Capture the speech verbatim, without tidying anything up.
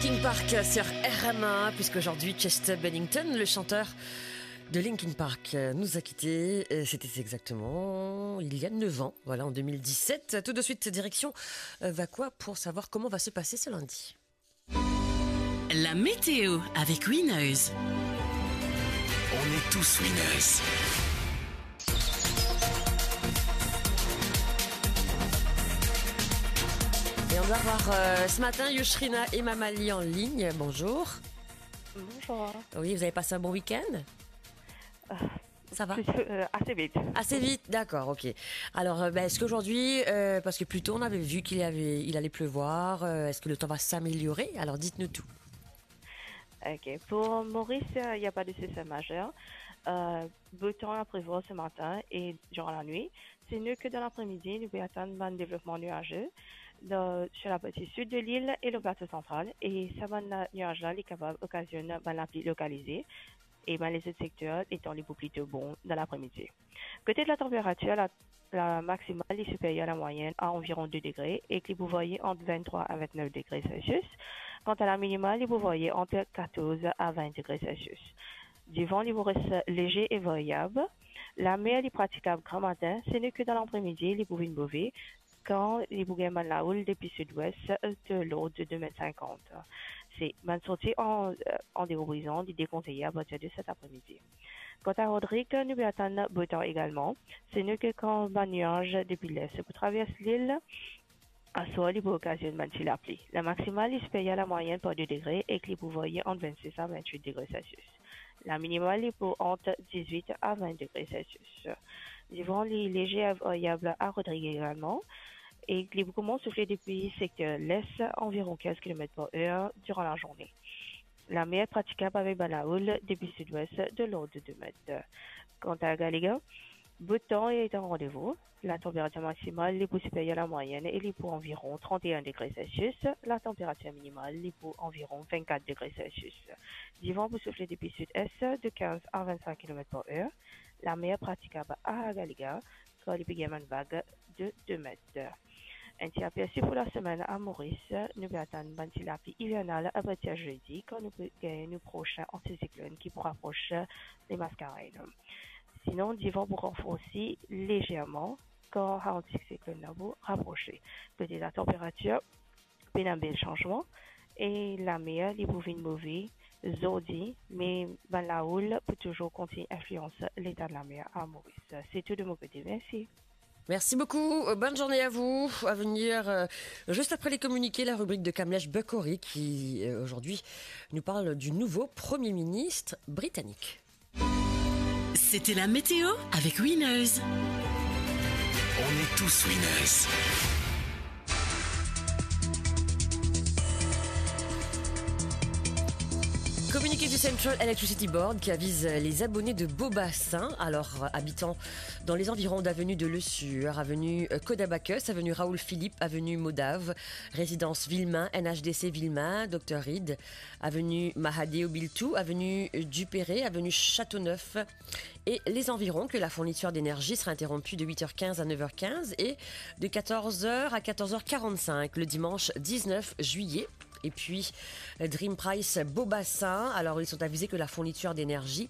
Linkin Park sur R M A, puisqu'aujourd'hui Chester Bennington, le chanteur de Linkin Park, euh, nous a quittés. Euh, c'était exactement il y a neuf ans, voilà, en deux mille dix-sept. Tout de suite, direction euh, Vacoas pour savoir comment va se passer ce lundi. La météo avec Winners. On est tous winners. Et on doit avoir euh, ce matin Yushrina et Mamali en ligne. Bonjour. Bonjour. Oui, vous avez passé un bon week-end ? Euh, Ça va ? Plus, euh, assez vite. Assez vite, d'accord, ok. Alors, euh, ben, est-ce qu'aujourd'hui, euh, parce que plus tôt on avait vu qu'il y avait, il allait pleuvoir, euh, est-ce que le temps va s'améliorer ? Alors dites-nous tout. Ok, pour Maurice, euh, il n'y a pas de sécheresse majeure. Euh, beau temps à prévoir ce matin et durant la nuit. C'est mieux que dans l'après-midi, nou pe atann bann devlopman nuaze dan, sur la partie sud de l'île et le plateau central. E sa bann nuaz la, li kapav okazionn bann lapli lokalize. E bann lezot sekter, letan li pou plito bon dan lapremidi. Kote de la tanperatir, la, la maximale li siperier a la moyenne à environ deux degrés e ki pou variye ant venntrwa a vennef degre Celsius. Kanta la minimale, li pou variye ant katorz a vin degre Celsius. Divan, li pou res leger e variab. Lamer, li pratikab gramatin, seki dan lapremidi, li pou vinn move, kan li pou gagn bann lahoul depi sidwes, euh, de l'ordre de deux mètres cinquante. Se bann sorti an, euh, an dero brizan, li dekonseye apartir de set apremidi. Kanta Rodrig, nou pe atann beau temps également. Seki kan bann nuaz depi lest pou travers lil, aswar li pou okazionn bann ti lapli. La maximale li siperier a la moyenne par deux degrés e ki li pou variye ant vennsis a vennwit degre Celsius. La minimale li pou ant dizwit a vin degre Celsius. Divan, li leger e variab a Rodrig également. E li pou koumans soufle depi sekter lest, anviron kinz kilomet par er, diran lazourne. Lamer pratikab avek bann lahoul depi sidwes de l'ordre de deux mètres. Kanta Gallega, beau temps est au rendez-vous. La tanperatir maximale li pou siperier a la moyenne e li pou anviron trant e enn degre Celsius. La tanperatir minimale li pou anviron vennkat degre Celsius. Divan pou soufle depi sid-est de kinz a vennsink kilomet par er. Lamer pratikab a Gallega, kan li pe gagn bann vag de deux mètres. Enn ti apersi pou lasemenn a Moris, nou pe atann bann ti lapli ivernal apartir zedi, kan nou pe gagn nou prosin antisiklonn ki pou rapros Lemaskarain. Sinon, divan pou ranforsi lezerman kan antisiklonn la pou raprose. Kote latanperatir, pena bel sanzman, e lamer li pou vinn move zordi, me bann lahoul pou touzour kontign inflians leta lamer a Moris. Se tou de mo kote, mersi. Merci beaucoup, euh, bonne journée à vous. À venir, euh, juste après les communiqués, la rubrique de Kamlesh Bukhori qui, euh, aujourd'hui, nous parle du nouveau Premier ministre britannique. C'était la météo avec Winners. On est tous winners. Communiqué du Central Electricity Board qui avise les abonnés de Beaubassin, alors, euh, habitant dans les environs d'avenue de Le Sueur, avenue, euh, Code Abacus, avenue Raoul Philippe, avenue Modave, résidence Villemain, N H D C Villemain, Docteur Reed, avenue Mahadeo Biltou, avenue, euh, Duperré, avenue Châteauneuf et les environs, que la fourniture d'énergie sera interrompue de huit heures quinze à neuf heures quinze et de quatorze heures à quatorze heures quarante-cinq le dimanche dix-neuf juillet. Et puis, euh, Dream Price Beaubassin, alors ils sont avisés que la fourniture d'énergie